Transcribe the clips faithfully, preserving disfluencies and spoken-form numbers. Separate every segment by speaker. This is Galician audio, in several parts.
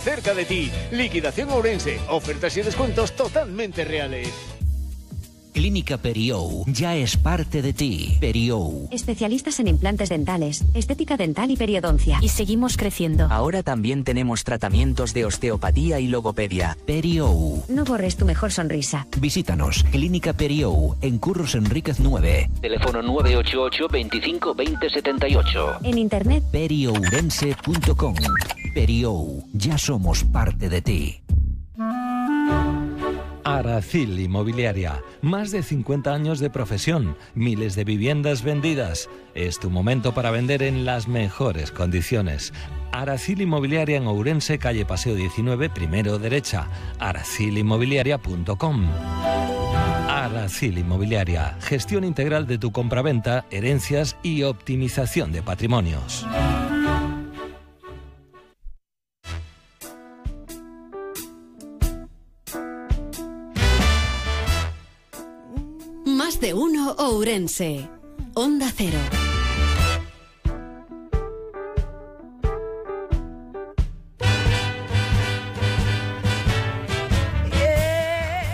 Speaker 1: Cerca de ti, Liquidación Ourense, ofertas y descuentos totalmente reales.
Speaker 2: Clínica Periou ya es parte de ti. Periou.
Speaker 3: Especialistas en implantes dentales, estética dental y periodoncia.
Speaker 4: Y seguimos creciendo.
Speaker 5: Ahora también tenemos tratamientos de osteopatía y logopedia.
Speaker 2: Periou.
Speaker 3: No borres tu mejor sonrisa.
Speaker 2: Visítanos, Clínica Periou, en Curros Enríquez nueve.
Speaker 5: Teléfono nueve ocho ocho, veinticinco, veinte, setenta y ocho.
Speaker 3: En internet,
Speaker 2: periourense punto com. Periou, ya somos parte de ti.
Speaker 6: Aracil Inmobiliaria, más de cincuenta años de profesión, miles de viviendas vendidas. Es tu momento para vender en las mejores condiciones. Aracil Inmobiliaria en Ourense, calle Paseo diecinueve, primero derecha, aracil inmobiliaria punto com. Aracil Inmobiliaria, gestión integral de tu compraventa, herencias y optimización de patrimonios.
Speaker 7: Más de uno Ourense. Onda Cero.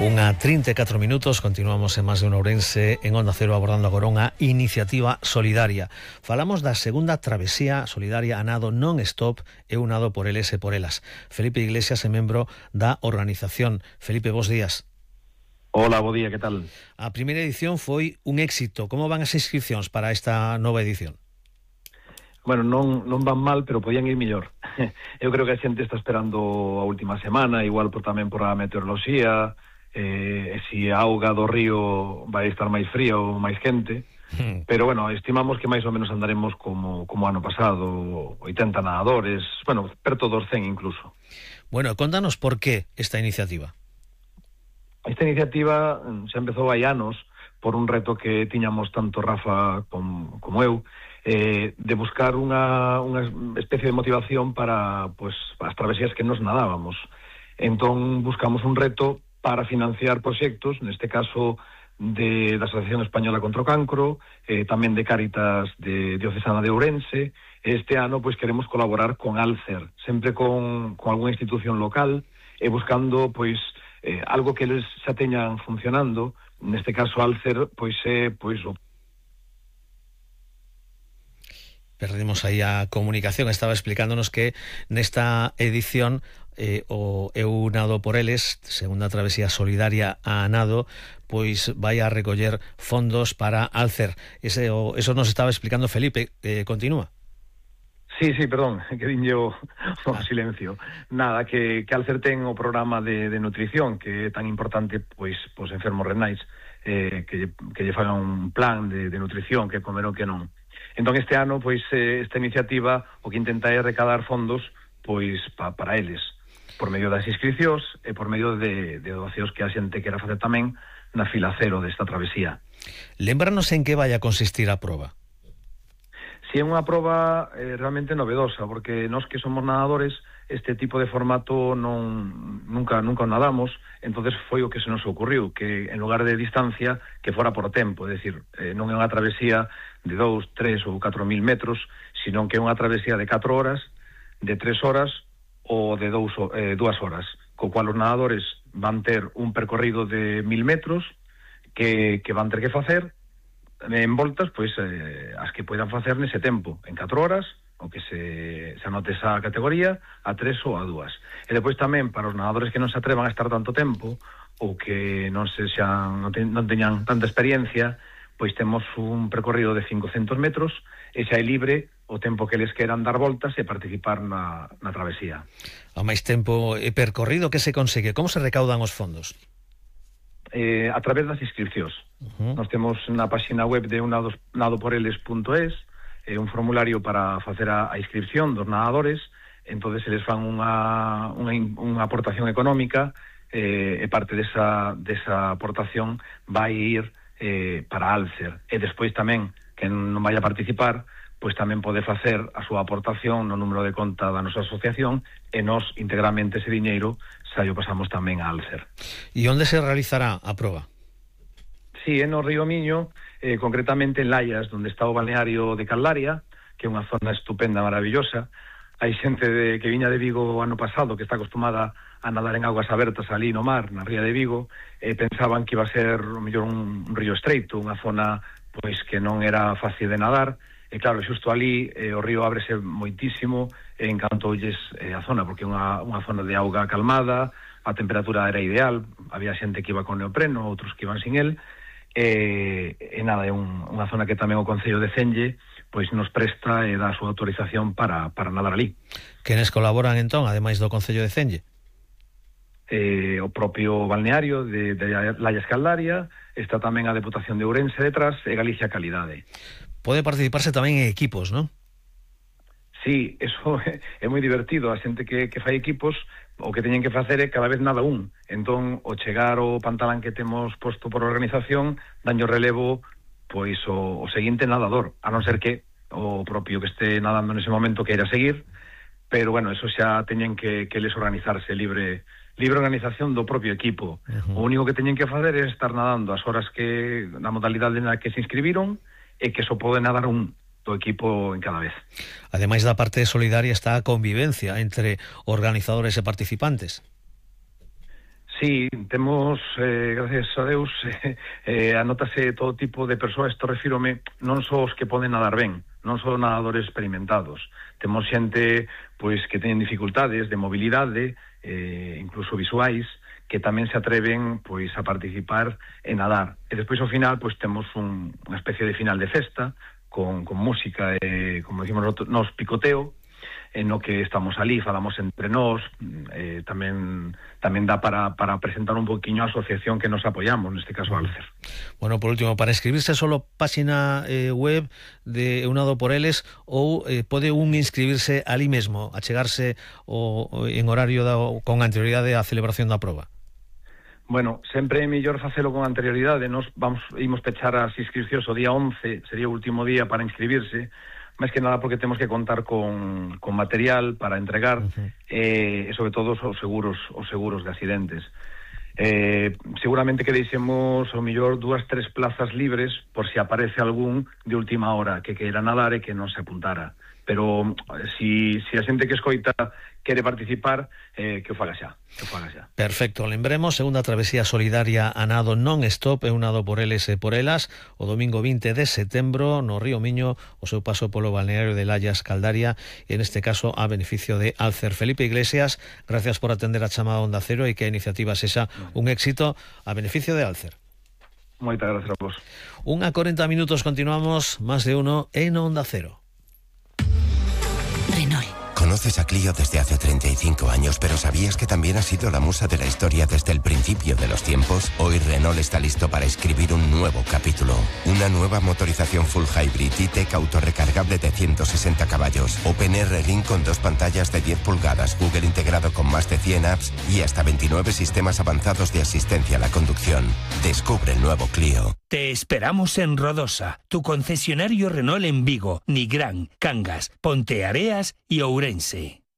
Speaker 8: Unha trinta e catro minutos, continuamos en Más de un Ourense en Onda Cero abordando agora unha iniciativa solidaria. Falamos da segunda travesía solidaria a nado non-stop e un nado por eles e por elas. Felipe Iglesias é membro da organización. Felipe, bos días.
Speaker 9: Hola, bo día, que tal?
Speaker 8: A primeira edición foi un éxito. Como van as inscripcións para esta nova edición?
Speaker 9: Bueno, non, non van mal, pero podían ir mellor. Eu creo que a xente está esperando a última semana, igual por tamén por a meteoroloxía, eh, e si a auga do río vai estar máis fría ou máis quente. Hmm. Pero, bueno, estimamos que máis ou menos andaremos como, como ano pasado, oitenta nadadores, bueno, perto dos cen incluso.
Speaker 8: Bueno, contanos por qué esta iniciativa.
Speaker 9: Esta iniciativa xa empezou hai anos por un reto que tiñamos tanto Rafa como, como eu, eh, de buscar unha, unha especie de motivación para pues, as travesías que nos nadábamos. Entón buscamos un reto para financiar proxectos, neste caso de, da Asociación Española contra o Cancro, eh, tamén de Cáritas de Diocesana de Ourense. Este ano pues, queremos colaborar con Alcer, sempre con, con algunha institución local, e buscando pois Eh, algo que eles xa teñan funcionando, neste caso Alcer, pois é pois o
Speaker 8: Perdimos aí a comunicación, estaba explicándonos que nesta edición eh, o Eu Nado por Eles, segunda travesía solidaria a nado, pois vai a recoller fondos para Alcer. Ese, o, eso nos estaba explicando Felipe, eh, continúa.
Speaker 9: Sí, sí, perdón, que dinlle o, o silencio. Nada, que, que Alcer ten o programa de, de nutrición, que é tan importante, pois, pois enfermos renais, eh, que, que lle fagan un plan de, de nutrición, que comer o que non. Entón, este ano, pois, eh, esta iniciativa, o que intenta é recaudar fondos, pois, pa, para eles, por medio das inscricións e por medio de, de donacións que a xente quera facer tamén na fila cero desta travesía.
Speaker 8: Lémbranos en que vai a consistir a proba.
Speaker 9: Si é unha proba eh, realmente novedosa, porque nós que somos nadadores, este tipo de formato non nunca nunca nadamos, entonces foi o que se nos ocurriu, que en lugar de distancia, que fora por tempo, é dicir, eh, non é unha travesía de dous, tres ou catro mil metros, sino que é unha travesía de catro horas, de tres horas ou de dous, eh, dúas horas, co cual os nadadores van ter un percorrido de mil metros que, que van ter que facer en voltas, pois, eh, as que poidan facer nese tempo, en catro horas, o que se, se anote esa categoría, a tres ou a dúas. E depois tamén, para os nadadores que non se atrevan a estar tanto tempo, ou que non se xan, non, te, non teñan tanta experiencia, pois temos un percorrido de cincocentos metros, e xa é libre o tempo que les queran dar voltas e participar na, na travesía.
Speaker 8: A máis tempo e percorrido, que se consegue? Como se recaudan os fondos?
Speaker 9: Eh, a través das inscripcións. Uh-huh. Nós temos na página web de nado por eles punto es eh, un formulario para facer a, a inscripción dos nadadores, entonces eles fan unha, unha, unha aportación económica eh, e parte desa, desa aportación vai ir eh, para Alcer, e despois tamén que non vai a participar, pois tamén pode facer a súa aportación no número de conta da nosa asociación, e nós integramente ese diñeiro xa o pasamos tamén a Alcer.
Speaker 8: E onde se realizará a proba?
Speaker 9: Sí, en o Río Miño, eh, concretamente en Laias, onde está o balneario de Caldaria, que é unha zona estupenda, maravillosa. hai xente de, que viña de Vigo o ano pasado, que está acostumada a nadar en aguas abertas ali no mar, na ría de Vigo, e pensaban que iba a ser o mellor un, un río estreito, unha zona pois que non era fácil de nadar, e claro, xusto ali eh, o río ábrese moitísimo e encantoulles eh, a zona, porque é unha, unha zona de auga calmada, a temperatura era ideal, había xente que iba con neopreno, outros que iban sin el, e, e nada, é un, unha zona que tamén o Concello de Celle pois nos presta e dá a súa autorización para, para nadar ali.
Speaker 8: Quenes colaboran entón, ademais do Concello de Celle?
Speaker 9: Eh, o propio balneario de, de Laia Escaldaria, está tamén a Deputación de Ourense detrás e Galicia Calidade.
Speaker 8: Pode participarse tamén en equipos, non?
Speaker 9: Sí, eso é, é moi divertido. A xente que, que fai equipos, o que teñen que facer é cada vez nada un. Entón, o chegar o pantalán que temos posto por organización, daño relevo pois o, o seguinte nadador, a non ser que o propio que este nadando nese momento queira seguir, pero bueno, eso xa teñen que, que les organizarse libre libre organización do propio equipo. Uh-huh. O único que teñen que facer é estar nadando as horas que na modalidade na que se inscribiron e que só pode nadar un do equipo en cada vez.
Speaker 8: Ademais da parte solidaria está a convivencia entre organizadores e participantes.
Speaker 9: Sí, temos, eh, gracias a Deus, eh, eh, anótase todo tipo de persoas, isto refírome non só os que poden nadar ben, non só nadadores experimentados. Temos xente pois que teñen dificultades de mobilidade, eh, incluso visuais, que tamén se atreven pois a participar en nadar. E despois ao final pois temos un, unha especie de final de festa con, con música e, como decimos nos, picoteo, en no que estamos ali, falamos entre nós, eh, tamén tamén dá para, para presentar un poquinho a asociación que nos apoiamos, neste caso Alcer.
Speaker 8: Bueno, por último, para inscribirse solo página eh, web de Eunado por Eles ou eh, pode un inscribirse ali mesmo, achegarse o, o, en horario da, con anterioridade á celebración da proba?
Speaker 9: Bueno, sempre é mellor facelo con anterioridade. Nos vamos imos pechar as inscripcións o día once, sería o último día para inscribirse, máis que nada porque temos que contar con, con material para entregar, uh-huh. eh, e sobre todo os seguros os seguros de accidentes. Eh, seguramente que deixemos o mellor dúas, tres plazas libres por si aparece algún de última hora que queira nadar e que non se apuntara. Pero si, si a xente que escoita quere participar, eh, que o faga xa, que o faga xa.
Speaker 8: Perfecto, lembremos, segunda travesía solidaria a nado non-stop, Eunado por Eles e por Elas, o domingo vinte de setembro no Río Miño, o seu paso polo balneario de Laia Escaldaria, e neste caso a beneficio de Alcer. Felipe Iglesias, gracias por atender a chamada Onda Cero e que a iniciativa sexa un éxito a beneficio de Alcer.
Speaker 9: Moitas gracias a vos.
Speaker 8: Unha corenta minutos, continuamos, más de uno en Onda Cero.
Speaker 4: Renault. Conoces a Clio desde hace treinta y cinco años, pero ¿sabías que también ha sido la musa de la historia desde el principio de los tiempos? Hoy Renault está listo para escribir un nuevo capítulo. Una nueva motorización full hybrid E-Tech autorrecargable de ciento sesenta caballos. OpenR Ring con dos pantallas de diez pulgadas, Google integrado con más de cien apps y hasta veintinueve sistemas avanzados de asistencia a la conducción. Descubre el nuevo Clio.
Speaker 10: Te esperamos en Rodosa, tu concesionario Renault en Vigo, Nigrán, Cangas, Ponteareas y Ourense.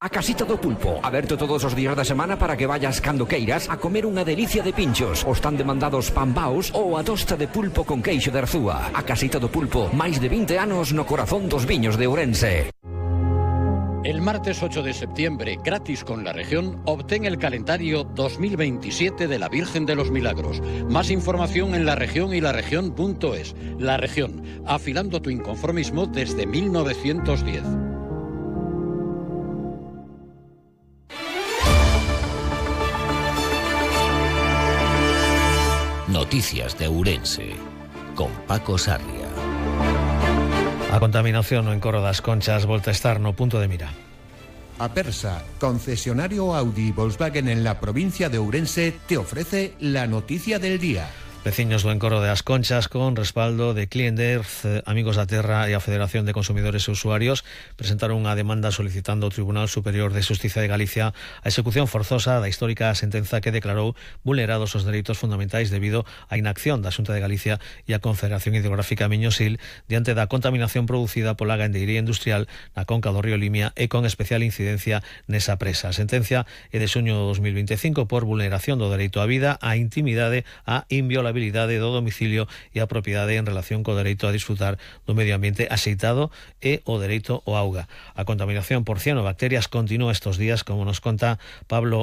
Speaker 11: A Casita do Pulpo, aberto todos os días da semana para que vayas cando queiras a comer unha delicia de pinchos, os tan demandados pambaos ou a tosta de pulpo con queixo de Arzúa. A Casita do Pulpo, máis de vinte anos no corazón dos viños de Ourense.
Speaker 12: El martes ocho de septiembre, gratis con la región, obtén el calendario dos mil veintisiete de la Virgen de los Milagros. Más información en La Región y laregión punto es. La Región, afilando tu inconformismo desde mil novecientos diez.
Speaker 2: Noticias de Ourense, con Paco Sarria.
Speaker 8: A contaminación no Encoro das Conchas volta a estar no punto de mira.
Speaker 13: Apersa, concesionario Audi y Volkswagen en la provincia de Ourense, te ofrece la noticia del día.
Speaker 8: Veciños do Encoro das Conchas, con respaldo de Clienderz, Amigos da Terra e a Federación de Consumidores e Usuarios, presentaron unha demanda solicitando ao Tribunal Superior de Xustiza de Galicia a execución forzosa da histórica sentenza que declarou vulnerados os dereitos fundamentais debido á inacción da Xunta de Galicia e a Confederación Hidrográfica Miño-Sil diante da contaminación producida pola gandeiría industrial na conca do río Limia e con especial incidencia nesa presa. A sentencia é de xuño de dos mil veinticinco por vulneración do dereito á vida, á intimidade, á inviolación inviolabilidade do domicilio e a propiedade en relación co dereito a disfrutar do medio ambiente axeitado e o dereito ao auga. A contaminación por cianobacterias continúa estos días, como nos conta Pablo